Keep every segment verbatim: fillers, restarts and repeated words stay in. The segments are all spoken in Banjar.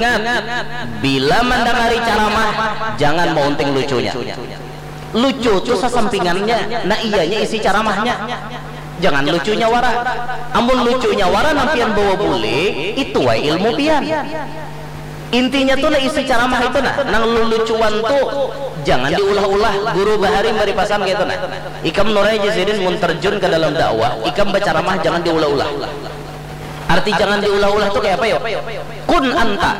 Ingat, bila mandangari caramah, jangan maunting lucunya. Lucu tu sasampingannya, nah iyanya isi caramahnya. Jangan lucunya wara. Amun lucunya wara nang pian bawa bule, itu wae ilmu pian. Intinya tu nah isi caramah itu nah, nang lulucuan tu jangan diulah-ulah. Guru bahari mari pasan kaitu nah. Ikam nurai ja sidin mun terjun ka dalam dakwah, ikam bacaramah jangan diulah-ulah. Arti jangan diulah-ulah tu kaya apa yo? Kun anta.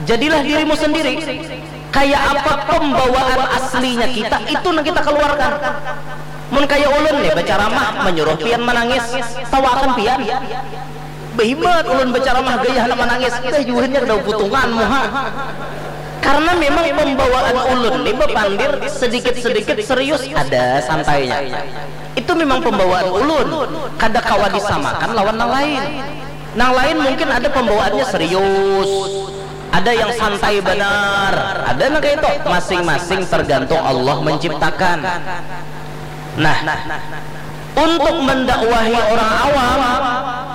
Jadilah dirimu sendiri. Kaya apa pembawaan aslinya kita, itu nang kita keluarkan. Mun kaya ulun nih bacaramah menyuruh pian manangis, tawakan pian. Behimat ulun bacaramah gaya handak manangis, dah juhanya kada putungan muha. Karena memang pembawaan ulun nih bapandir sedikit-sedikit serius, ada santainya. Itu memang pembawaan ulun, kada kawa disamakan lawan nang lain. Nang lain mungkin ada pembawaannya serius, ada yang santai banar, ada nang kayak itu. Masing-masing tergantung Allah menciptakan. Nah, untuk mendakwahi orang awam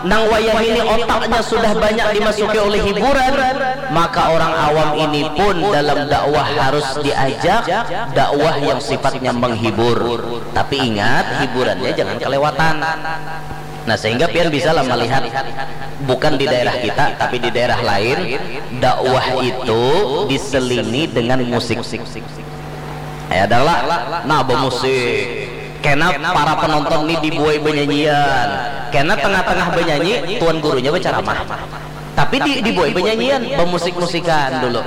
nang wayah ini otaknya sudah banyak dimasuki oleh hiburan, maka orang awam ini pun dalam dakwah harus diajak dakwah yang sifatnya menghibur. Tapi ingat, hiburannya jangan kelewatan. Nah, sehingga pian bisa lah melihat, bukan di daerah kita tapi di daerah lain, dakwah itu diselingi dengan musik. Ya adalah, nah, bermusik. Kena para penonton ni dibuai benyanyian, kena tengah-tengah benyanyi tuan gurunya berceramah, tapi di, dibuai benyanyian, bermusik-musikan dulu.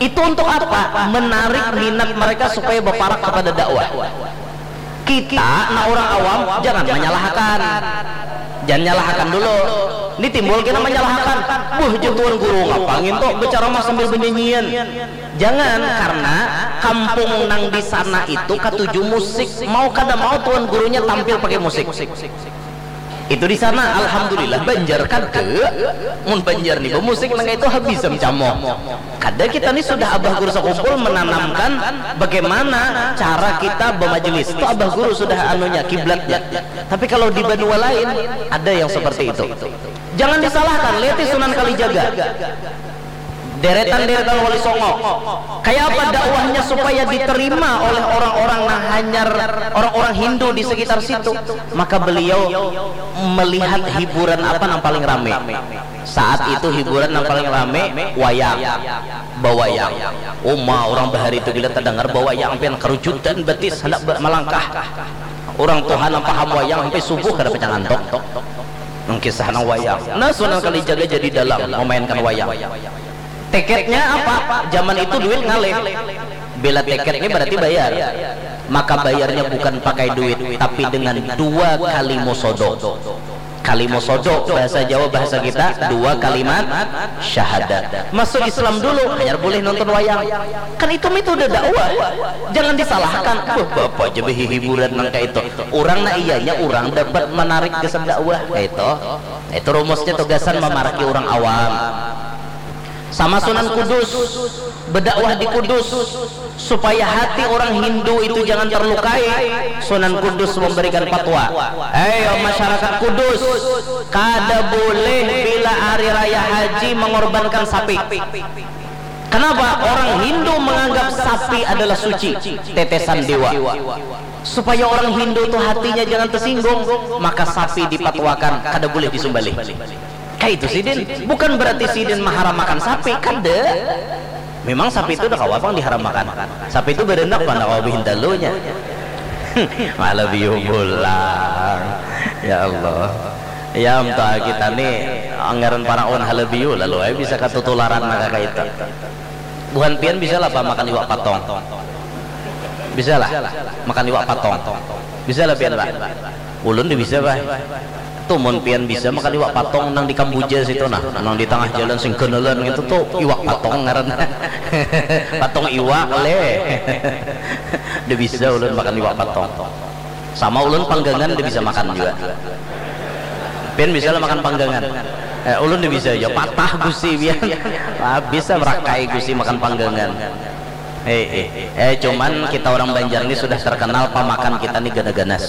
Itu untuk apa? Menarik minat mereka supaya berparak kepada dakwah. Kita, nah, orang awam, jangan menyalahkan. Jangan nyalahkan dulu. Ini timbul kena menyalahkan. Buh, je tuan guru ngapa nginto berceramah sambil benyanyian? Jangan, karena kampung nang di sana itu katuju musik. Mau kada mau tuan gurunya tampil pakai musik. Itu di sana, alhamdulillah. Banjar kada. Mun Banjar nih bermusik nang itu habis camoh. Kada, kita nih sudah abah guru sakumpul menanamkan bagaimana cara kita bermajelis. Itu abah guru sudah anunya, kiblatnya. Tapi kalau di banua lain, ada yang seperti itu. Jangan disalahkan, lihat Sunan Kalijaga. Deretan-deretan Wali Songo. Kayak apa dakwahnya supaya diterima oleh orang-orang nang hanyar, orang-orang Hindu di sekitar situ? Maka beliau melihat hiburan apa nang paling rame. Saat itu hiburan nang paling rame wayang. Bawayang. Uma, orang bahari itu bila terdengar bawayang, pian kerujutan betis hendak melangkah. Orang tuha nang paham wayang sampai subuh kada pacang antok. Nang kisah nang wayang. Nah, Sunan Kalijaga jadi dalang memainkan wayang. Tiketnya apa? Zaman itu duit ngalih. Bila tiket ini berarti bayar. Maka bayarnya bukan pakai duit, tapi dengan dua kali musodo. Kali musodo, bahasa Jawa, bahasa kita, dua kalimat syahadat. Masuk Islam dulu, hanyar boleh nonton wayang. Kan itu metode dakwah. Jangan disalahkan. Wah, bapak aja hiburan nang kayak itu. Orang, nah, iyanya orang dapat menarik gasan dakwah kayak itu. Itu rumusnya tugasan memaraki orang awam. Sama Sunan Kudus, berdakwah di Kudus supaya hati orang Hindu itu jangan terlukai. Sunan Kudus memberikan fatwa, "Hei masyarakat Kudus, kada boleh bila hari raya haji mengorbankan sapi." Kenapa? Orang Hindu menganggap sapi adalah suci, tetesan dewa. Supaya orang Hindu tuh hatinya jangan tersinggung, maka sapi dipatwakan kada boleh disembelih. Kayak itu sidin, bukan berarti sidin maharam makan sapi, kada. Memang sapi itu udah kawa pang diharam makan. Sapi itu berenak mana kawa bihintalunya. Malah biu pulang. Ya Allah. Ya, kita nih anggaran para on halabiu, lalu aja bisa katutularan maka kayak itu. Buhan pian bisa lah apa makan iwak patong? Bisa lah makan iwak patong? Bisa lah pian, Pak? Ulun di bisa, Pak. Tuh, mun pian bisa makan iwak patong nang di Kambuja situ nah, nang di tangah jalan sing kenelan gitu tuh, iwak patong ngaran. Patong iwak leh. Udah bisa ulun makan iwak patong. Sama ulun panggangan udah bisa makan juga. Pian bisa lah makan panggangan? Eh, ulun udah bisa aja, patah gusi pian. Ah, bisa merakai gusi makan panggangan. Eh, eh, eh, cuman kita orang Banjar ini sudah terkenal pamakan kita nih gana-ganas.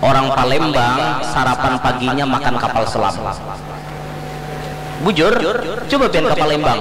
Orang Palembang sarapan paginya makan kapal selam. Bujur, coba pian ka Palembang.